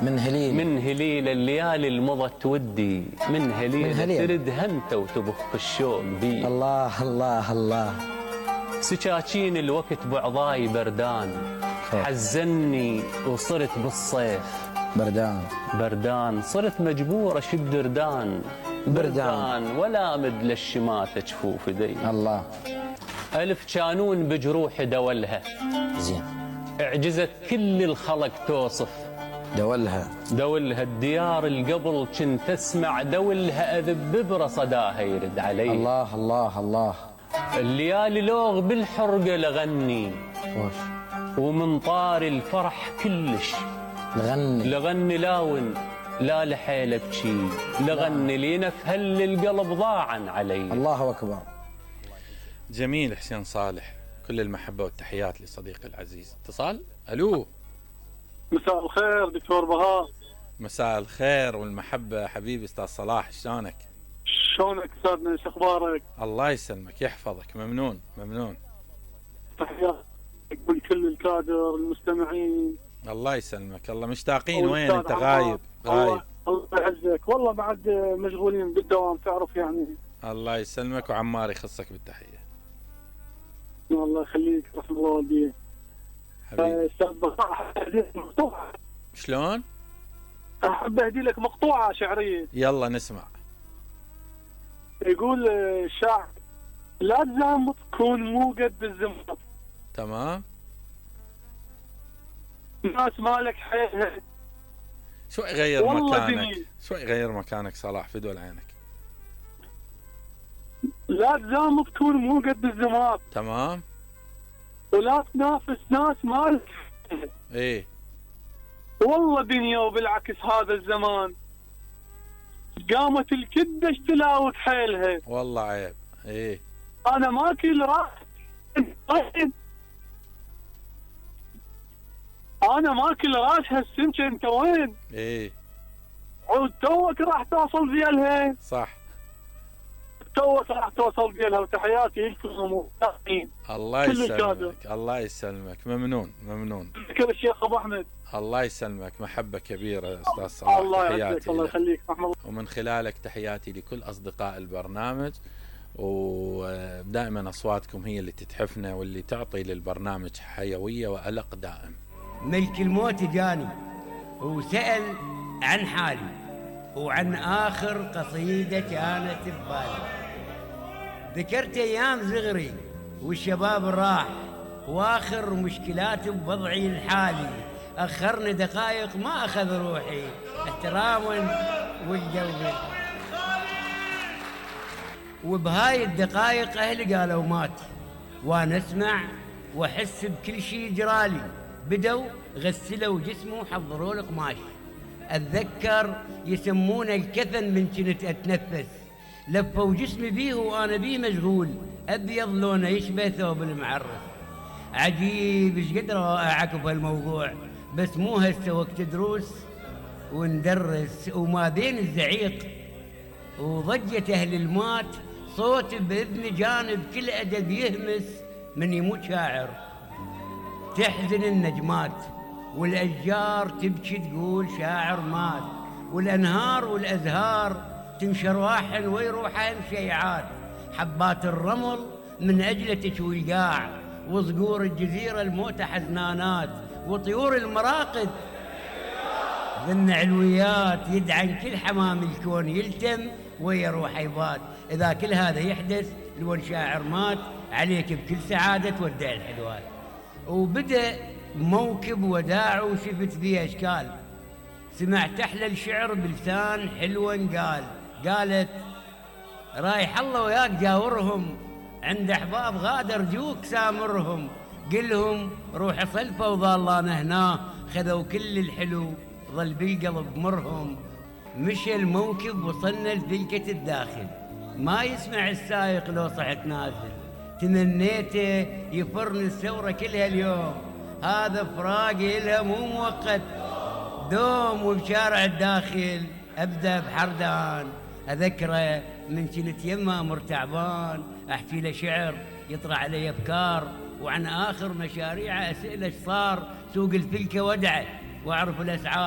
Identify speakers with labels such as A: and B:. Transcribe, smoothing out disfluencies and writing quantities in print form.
A: من هليل الليالي المضت ودي، من هليل ترد هنت وتبخ الشوق بي.
B: الله الله الله.
A: سكاكين الوقت بعضاي بردان، حزني وصرت بالصيف بردان، صرت مجبور اشد بردان ولا مد للشماتة جفوف دي.
B: الله.
A: ألف كانون بجروح دولها،
B: زين
A: اعجزت كل الخلق توصف دولها الديار القبل كنت اسمع دولها اذب برصداها يرد علي.
B: الله الله الله.
A: الليالي لوغ بالحرقه لغني ومن طار الفرح كلش لغني لاون لا لحيل ابكي، لغني لينفهل القلب ضاعا علي.
B: الله اكبر.
C: جميل حسين صالح، كل المحبه والتحيات لصديقي العزيز. اتصال. الو.
D: مساء الخير دكتور بهاء.
C: مساء الخير والمحبه حبيبي استاذ صلاح، شلونك؟
D: شلونك استاذنا، ايش اخبارك؟
C: الله يسلمك يحفظك. ممنون.
D: تحيات لكل الكادر المستمعين.
C: الله يسلمك. الله مشتاقين. وين انت؟ غايب.
D: الله يعزك. والله بعد مشغولين بالدوام تعرف يعني.
C: الله يسلمك وعمار يخصك بالتحيه.
D: الله يخليك رحم الله والديك
C: حبيبي.
D: استاذ بهاء احب اهدي لك مقطوعه.
C: شلون؟
D: احب اهدي لك مقطوعه شعريه.
C: يلا نسمع.
D: يقول الشاعر: لا تزامط كون مو قد الزمط.
C: تمام.
D: الناس مالك حيلها.
C: شوي غير مكانك، شوي غير مكانك صلاح فدوى عينك.
D: لا تزامط كون مو قد الزمط.
C: تمام.
D: ولا تنافس ناس مالك.
C: ايه
D: والله دنيا وبالعكس هذا الزمان قامت الكدة تلاوك حيلها.
C: والله عيب. ايه
D: انا ماكل راس انا ماكل راس هالسمكه انت وين؟
C: ايه
D: عود توك راح توصل زيالها.
C: صح
D: توك راح توصل زيالها. وتحياتي لكم ومتابعين.
C: الله يسلمك. الله يسلمك. ممنون.
D: شكرا الشيخ ابو احمد.
C: الله يسلمك. محبه كبيره استاذ صلاح.
D: الله يعزك. الله يخليك.
C: ومن خلالك تحياتي لكل اصدقاء البرنامج، ودائما اصواتكم هي اللي تتحفنا واللي تعطي للبرنامج حيويه والق دائم.
E: ملك الموت جاني وسأل عن حالي وعن آخر قصيدة كانت ببالي. ذكرت أيام صغري والشباب راح وآخر مشكلات بوضعي الحالي. أخرني دقائق ما أخذ روحي احتراما والجو. وبهاي الدقائق أهلي قالوا مات، وأنا أسمع وأحس بكل شيء جرالي. بدوا غسلوا جسمه وحضروا له قماش. أتذكر يسمونه الكفن من كنت أتنفس. لفوا جسمي بيه وأنا بيه مشغول، أبيض لونه يشبه ثوب المعرس. عجيب إيش قد رائعك بهالموضوع، بس مو هسه وقت دروس وندرس وما بين الزعيق وضجة أهل المات. صوت بإذن جانب كل أدب يهمس من يموت شاعر. تحزن النجمات والأشجار تبكي تقول شاعر مات، والأنهار والأزهار تنشر واحن ويروحن شيعات. حبات الرمل من أجله تشوي القاع، وصقور الجزيرة الموتى حزنانات، وطيور المراقد ذن علويات يدعن كل حمام الكون يلتم ويا روح يبات. إذا كل هذا يحدث لون شاعر مات عليك بكل سعادة تودع الحلوات. وبدأ موكب وداع وشفت فيه أشكال. سمعت أحلى الشعر بلسان حلو قالت رايح الله وياك جاورهم، عند أحباب غادر جوك سامرهم. قلهم روح صلفة وظلنا هنا، خذوا كل الحلو ظل بالقلب مرهم. مشى الموكب وصلنا لذلكة الداخل، ما يسمع السايق لو صحت نازل. تمنيته يفرن الثورة كلها اليوم، هذا فراقي لها مو مؤقت دوم. وبشارع الداخل أبدأ بحردان، أذكره من كنت يما مرتعبان. أحكي له شعر يطرح علي أفكار، وعن آخر مشاريعه أسئلة صار. سوق الفلكة ودعه وأعرف الأسعار.